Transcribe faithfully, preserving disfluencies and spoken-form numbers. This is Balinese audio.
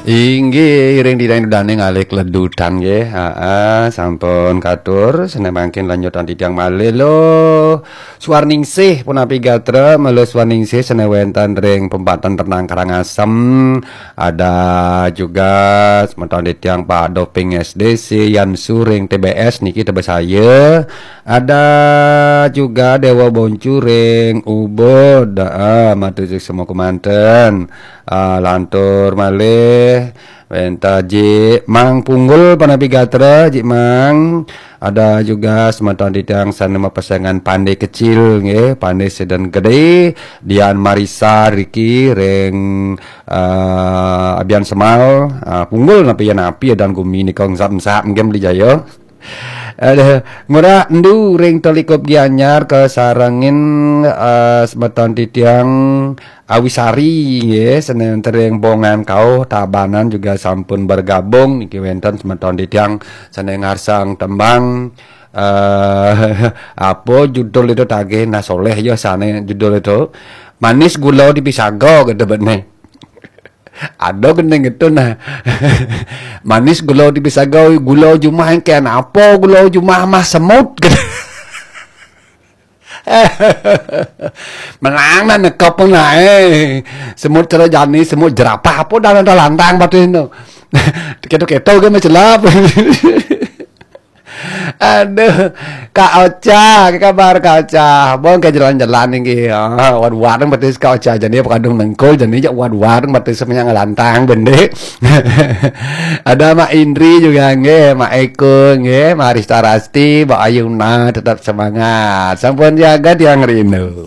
Inggih, iring didang dudane ngalih kledutan nggih. Heeh, sampun katur, sene mangkin lanjutan titiang malih lo. Suarningsih punapi gatra, malih Suarningsih sene wenten ring Pempatan Renang Karangasem. Ada juga semeton titiang Pak Doping S D C, Yan Suring T B S niki tebes saya. Ada juga Dewa Boncuring, Ubud, heeh, matur suksma kemanten. Ah, lantur malih wenten Jik Mang Punggul punapi gatra, Jik Mang. Ada juga semeton titiang sane mapesengan Pande Kecil nggih, Pande Sedan Gede, Dian Marisa Riki ring ah, Abian Semal, ah, Punggul napi ya napi dan gumi nika ngesap-ngesap nggih Beli Jaya. Ada ngora endu ring Telikup Gianyar kasarengin, eh, semeton titiang Awisari nggih, sene wenten ring Bongan Kauh Tabanan juga sampun bergabung niki wenten semeton titiang sene ngarsang tembang, eh, apa judul itu tagih nah soleh ya sane judul itu Manis Gula di Pisaga gitu bene. Ada gending itu nah. Manis gula di pisaga, gula jumah yang kena apa gula jumah mah semut. Menang nah nekap nah eh. Semut cara jani, semut jerapah apa dah ada lantang batu itu. Keto-keto ke macelap. Aduh, Kak Ocha, apa kabar Kak Ocha? Bon ke jalan-jalan niki. Ah, wan-wan batis Kak Ocha jani apa kadung nengkul jani jak wan-wan batis semuanya ngelantang bende. Ada Mak Indri juga nggih, Mak Eko nggih, Mak Rista Rasti, Mbak Ayuna tetap semangat. Sampun jaga tiang rindu.